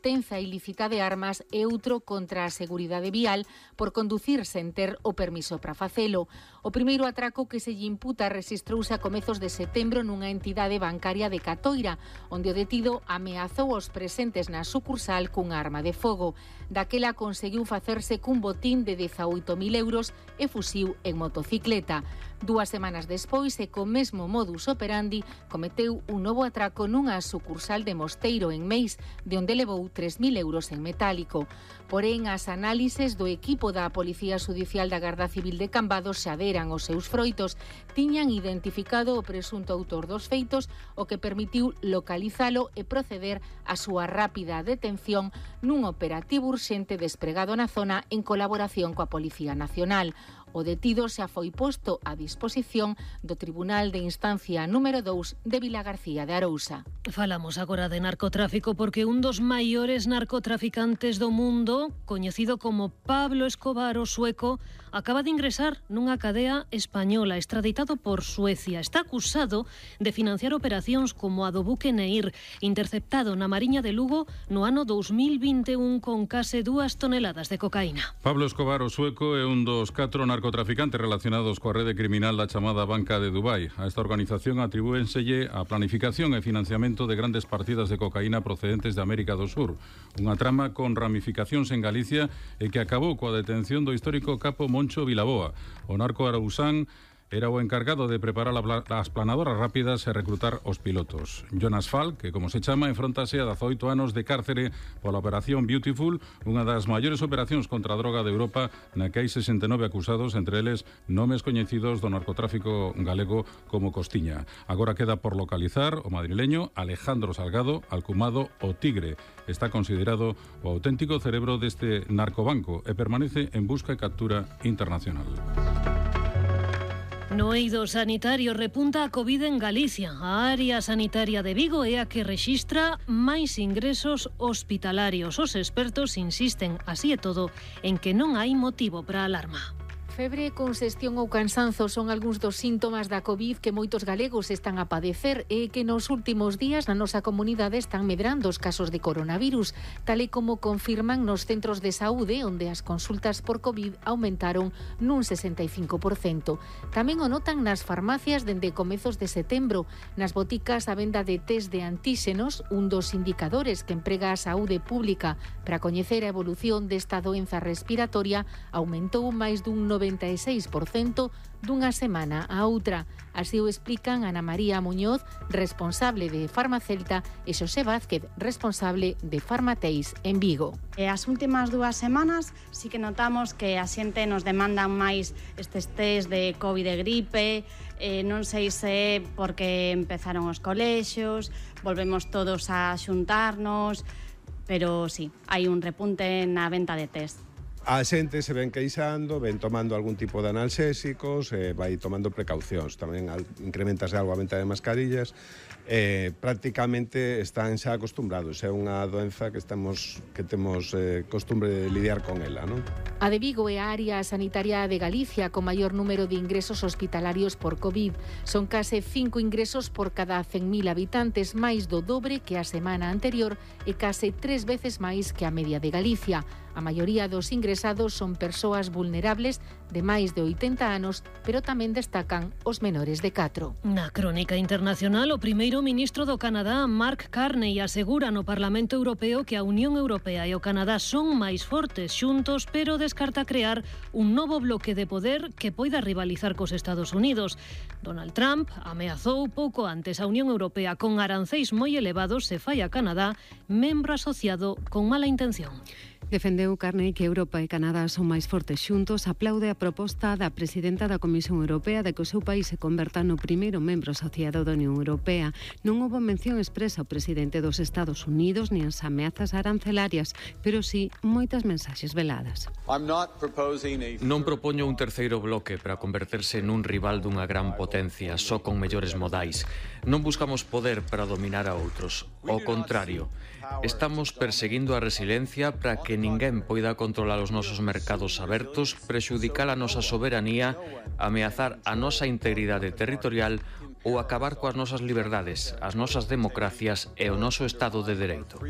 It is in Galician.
obtenza ilícita de armas e outro contra a seguridade vial por conducir sen ter o permiso para facelo. O primeiro atraco que se lle imputa rexistrouse a comezos de setembro nunha entidade bancaria de Catoira, onde o detido ameazou aos presentes na sucursal cunha arma de fogo. Daquela conseguiu facerse cun botín de 18.000 euros e fuxiu en motocicleta. 2 semanas despois, e co mesmo modus operandi, cometeu un novo atraco nunha sucursal de Mosteiro, en Meis, de onde levou 3.000 euros en metálico. Porén, as análises do equipo da Policía Judicial da Garda Civil de Cambados xa deran os seus froitos. Tiñan identificado o presunto autor dos feitos, o que permitiu localizalo e proceder á súa rápida detención nun operativo urxente despregado na zona en colaboración coa Policía Nacional. O detido xa foi posto a disposición do Tribunal de Instancia número 2 de Vilagarcía de Arousa. Falamos agora de narcotráfico porque un dos maiores narcotraficantes do mundo, coñecido como Pablo Escobar o sueco, acaba de ingresar nunha cadea española, extraditado por Suecia. Está acusado de financiar operacións como a do buque Neir, interceptado na Mariña de Lugo no ano 2021 con case 2 toneladas de cocaína. Pablo Escobar o sueco é un dos 4 narcotraficantes relacionados coa rede criminal da chamada Banca de Dubai. A esta organización atribúenselle a planificación e financiamento de grandes partidas de cocaína procedentes de América do Sur. Unha trama con ramificacións en Galicia e que acabou coa detención do histórico capo Moncho Vilaboa. O narco arausán era o encargado de preparar as planadoras rápidas e recrutar os pilotos. Jonas Falk, que como se chama, enfrontase a 18 anos de cárcere pola Operación Beautiful, unha das maiores operacións contra a droga de Europa, na que hai 69 acusados, entre eles nomes coñecidos do narcotráfico galego como Costiña. Agora queda por localizar o madrileño Alejandro Salgado, alcumado o Tigre. Está considerado o auténtico cerebro deste narcobanco e permanece en busca e captura internacional. No eido sanitario repunta a Covid en Galicia. A área sanitaria de Vigo é a que rexistra máis ingresos hospitalarios. Os expertos insisten, así e todo, en que non hai motivo para alarma. Febre, congestión ou cansanzo son algúns dos síntomas da Covid que moitos galegos están a padecer e que nos últimos días na nosa comunidade están medrando os casos de coronavirus, tal e como confirman nos centros de saúde, onde as consultas por Covid aumentaron nun 65%. Tamén o notan nas farmacias dende comezos de setembro. Nas boticas, a venda de test de antíxenos, un dos indicadores que emprega a saúde pública para coñecer a evolución desta doenza respiratoria, aumentou máis dun 96% dunha semana a outra. Así o explican Ana María Muñoz, responsable de Farmacelta, e Xosé Vázquez, responsable de Farmateis en Vigo. As últimas 2 semanas sí que notamos que a xente nos demandan máis estes test de Covid e gripe, non sei se é porque empezaron os colexios, volvemos todos a xuntarnos, pero sí, hai un repunte na venta de test. A xente se ven queixando, ven tomando algún tipo de analxésicos, vai tomando precaucións. Tamén incrementase algo a venta de mascarillas. Prácticamente están xa acostumbrados. É unha doenza que temos costumbre de lidiar con ela, non? A de Vigo é a área sanitaria de Galicia con maior número de ingresos hospitalarios por Covid. Son case 5 ingresos por cada 100.000 habitantes, máis do dobre que a semana anterior e case 3 veces máis que a media de Galicia. A maioría dos ingresados son persoas vulnerables de máis de 80 anos, pero tamén destacan os menores de 4. Na crónica internacional, o primeiro ministro do Canadá, Mark Carney, asegura no Parlamento Europeo que a Unión Europea e o Canadá son máis fortes xuntos, pero descarta crear un novo bloque de poder que poida rivalizar cos Estados Unidos. Donald Trump ameazou pouco antes a Unión Europea con aranceis moi elevados se fai a Canadá membro asociado con mala intención. Defendeu Carney que Europa e Canadá son máis fortes xuntos, aplaude a proposta da presidenta da Comisión Europea de que o seu país se converta no primeiro membro asociado da Unión Europea. Non houbo mención expresa ao presidente dos Estados Unidos nin as ameazas arancelarias, pero sí moitas mensaxes veladas. Non propoño un terceiro bloque para converterse nun rival dunha gran potencia, só con mellores modais. Non buscamos poder para dominar a outros. Ao contrario, estamos perseguindo a resiliencia para que ninguén poida controlar os nosos mercados abertos, prexudicar a nosa soberanía, ameazar a nosa integridade territorial ou acabar coas nosas liberdades, as nosas democracias e o noso Estado de Dereito.